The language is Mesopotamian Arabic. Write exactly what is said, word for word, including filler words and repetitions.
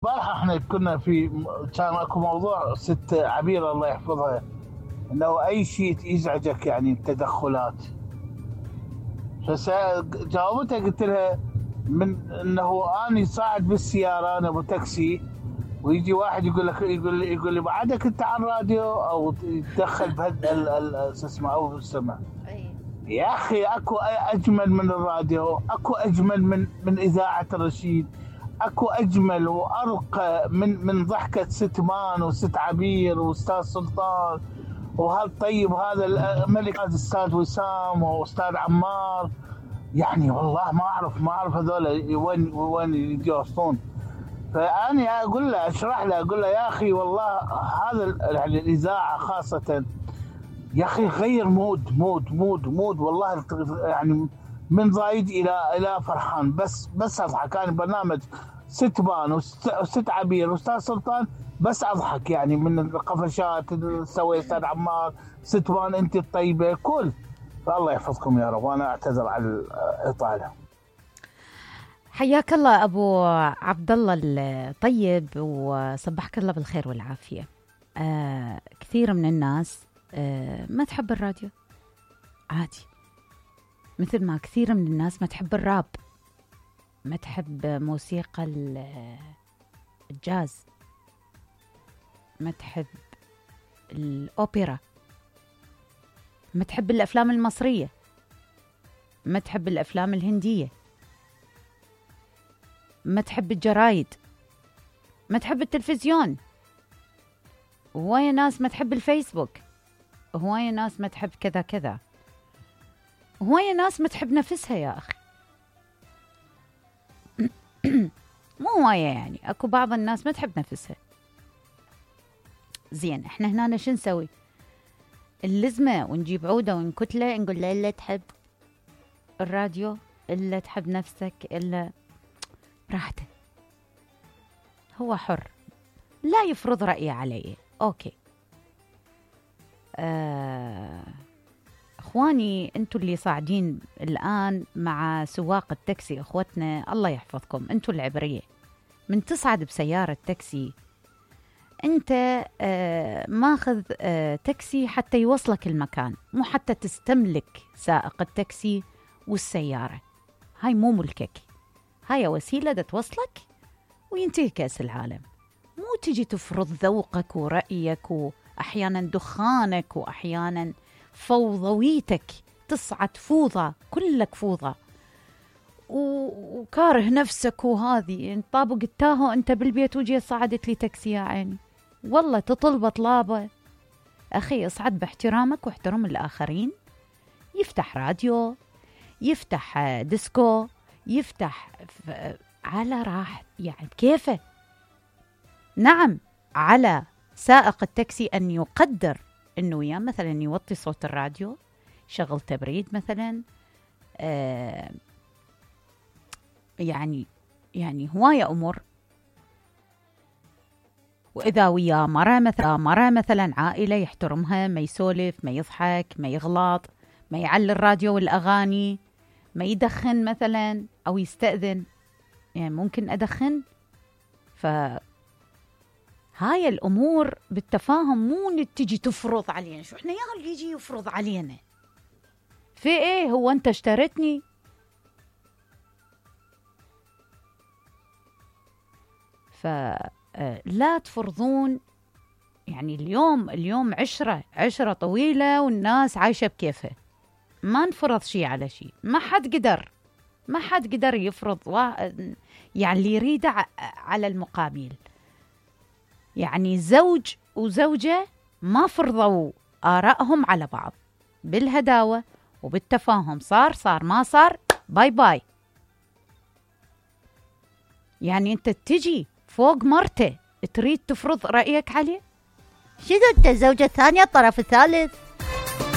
البارحة احنا كنا في كان اكو موضوع ست عبير الله يحفظها، انه اي شيء يزعجك يعني التدخلات. فجاوبتها قلت لها من انه اني صاعد بالسيارة انا ابو تاكسي، ويجي واحد يقول لك يقول لي يقول لي بعدك انت على الراديو او يتدخل بهال شو اسمه او بالسمع. يا اخي اكو اجمل من الراديو، اكو اجمل من من اذاعة الرشيد، اكو اجمل وارقى من من ضحكة ست مان وست عبير واستاذ سلطان وهالطيب هذا الملك هذا استاذ وسام واستاذ عمار. يعني والله ما اعرف ما اعرف هذول وين وين يجوصون. فاني اقول له اشرح له اقول له يا اخي والله هذا يعني الاذاعه خاصه يا اخي غير مود مود مود مود والله يعني من ضايد الى الى فرحان. بس بس اضحك. كان برنامج ست بان وست عبير واستاذ سلطان بس اضحك يعني من القفشات اللي سوي استاذ عمار. ست بان انت الطيبه كل. فالله يحفظكم يا رب وانا اعتذر على الاطاله. حياك الله ابو عبد الله الطيب وصبحك الله بالخير والعافيه. آه كثير من الناس آه ما تحب الراديو عادي، مثل ما كثير من الناس ما تحب الراب، ما تحب موسيقى الجاز، ما تحب الأوبرا، ما تحب الأفلام المصرية، ما تحب الأفلام الهندية، ما تحب الجرايد، ما تحب التلفزيون. هواية ناس ما تحب الفيسبوك، هواية ناس ما تحب كذا كذا، هواية ناس ما تحب نفسها يا أخي. مو هواية يعني، أكو بعض الناس ما تحب نفسها. زين احنا هنا شو نسوي؟ اللزمة ونجيب عودة ونكتلة نقول له إلا تحب الراديو إلا تحب نفسك إلا براحته، هو حر لا يفرض رأيه علي. أوكي آه اخواني انتوا اللي صاعدين الان مع سواق التاكسي، اخوتنا الله يحفظكم، انتوا العبريه من تصعد بسياره تاكسي انت آه ماخذ آه تاكسي حتى يوصلك المكان، مو حتى تستملك سائق التاكسي والسياره. هاي مو ملكك، هاي وسيله دا توصلك وينتهي كاس العالم. مو تجي تفرض ذوقك ورأيك واحيانا دخانك واحيانا فوضويتك، تصعد فوضى كلك فوضى وكاره نفسك. وهذه طابق التاهو انت بالبيت وجي صعدت لي تاكسي يا عيني، والله تطلب طلابه. اخي اصعد باحترامك واحترم الاخرين. يفتح راديو، يفتح ديسكو، يفتح على راح يعني بكيفه. نعم على سائق التاكسي ان يقدر انه يا مثلا يوطي صوت الراديو، شغل تبريد مثلا، آه يعني يعني هواية امور. واذا ويا مرة مثلا مرة مثلا عائلة يحترمها، ما يسولف، ما يضحك، ما يغلط، ما يعلي الراديو والاغاني، ما يدخن مثلا او يستأذن. يعني ممكن ادخن. ف هاي الأمور بالتفاهم، مو تجي تفرض علينا. شو احنا يا اللي يجي يفرض علينا في ايه؟ هو انت اشتريتني؟ فلا تفرضون. يعني اليوم اليوم عشرة عشرة طويلة والناس عايشة بكيفها، ما نفرض شيء على شيء. ما حد قدر ما حد قدر يفرض يعني اللي يريده على المقابل. يعني زوج وزوجة ما فرضوا آرائهم على بعض، بالهداوة وبالتفاهم. صار صار ما صار باي باي. يعني انت تجي فوق مرته تريد تفرض رأيك عليه؟ شذا انت الزوجة الثانية الطرف الثالث؟